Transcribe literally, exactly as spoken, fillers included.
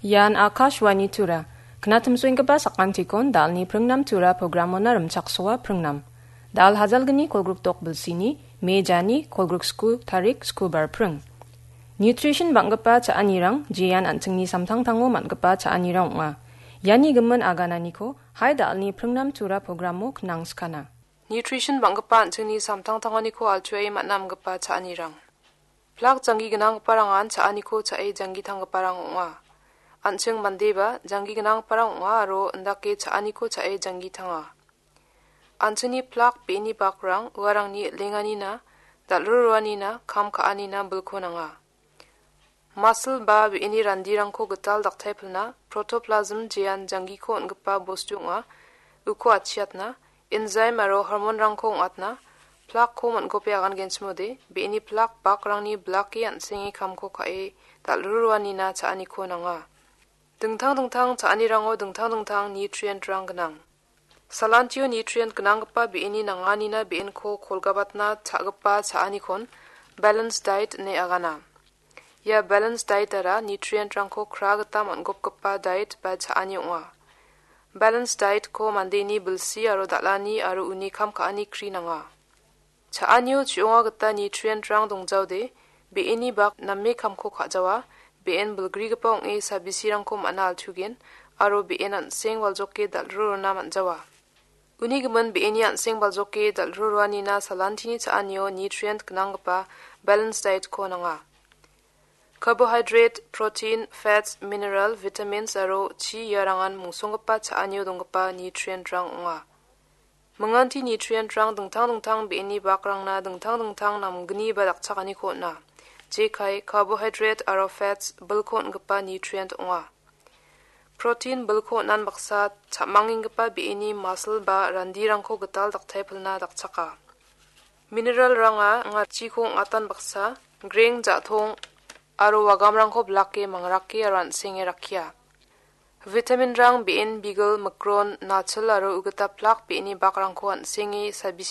Ian Akashvani Tura. Knatimsoenggipa sakantikon dalni pringnam Tura programona rimchaksoa pringnam. Dal hajalgni kolgrikdok bilsini, mejani kolgriksku tarik skubar pring. Nutrition bang·gipa cha·anirang, jean an·chingni samtangtango man·gipa cha·anirang ong·a. Iani gimin agananiko, hai dalni pringnam Tura programo knang skana. Nutrition bang·gipa an·chingni samtangtanganiko altuae man·amgipa cha·anirang. Plak janggi gnanggiparangan cha·aniko cha·e janggitanggiparang ong·a. An·ching mandeba janggi gnanggiparang ong·a aro indake cha·aniko cha·e janggitanga. An·chingni plak be·eni bakrang uarangni lenganina, dal·ruruanina, kam ka·anina bilko nanga. Muscle ba be·eni randirangko gital daktaipilna, protoplasm jean janggiko on·gipa bostu ong·a, uko atchiatna, enzyme aro hormonrangko ong·atna, plakko on·gope agangenchimode, be·eni plak bakrangni blake an·senge kamko ka·e dal·ruruanina cha·aniko nanga. Dingtang dingtang cha·anirango dingtang dingtang nutrientrang gnang. Salantio nutrient gnanggipa be·eni nanganina be·enko kolgabatna cha·gipa cha·anikon balanced diet ine agana. Ia balanced dietara nutrientrangko kra gita man·gopgipa diet ba cha·ani ong·a. Balanced dietko mandeni bilsi aro dal·ani aro uni kam ka·ani kri nanga. Cha·anio chi·onga gita nutrientrang dongjaode, be·eni bak name kamko ka·jawa, be·en bilgrigipa ong·e sabisirangko man·a altugen, aro be·en an·seng baljoke dal·rurona man·jawa. Uni gimin be·eni an·seng baljoke dal·ruruanina salantini cha·anio nutrient gnanggipa balanced dietko nanga. Carbohydrate, protein, fats, mineral, vitamins aro chi iarangan mungsonggipa cha·anio donggipa nutrientrang ong·a. Minganti nutrientrang dingtang dingtang be·eni bakrangna dingtang dingtang namgni ba dakchakaniko on·a. Jekai, carbohydrate aro fats bilko on·gipa nutrient ong·a. Protein bilko on·an baksa, cha·mangenggipa be·eni muscle ba randirangko gital daktaipilna dakchaka. Mineralranga anga chiko ong·atan baksa, greng, ja·tong aro wagamrangko blake mangrake aro an·senge rakkia. Vitaminrang be·en bigil, mikron, nachil aro ugita plak be·eni bakrangko an·senge sabise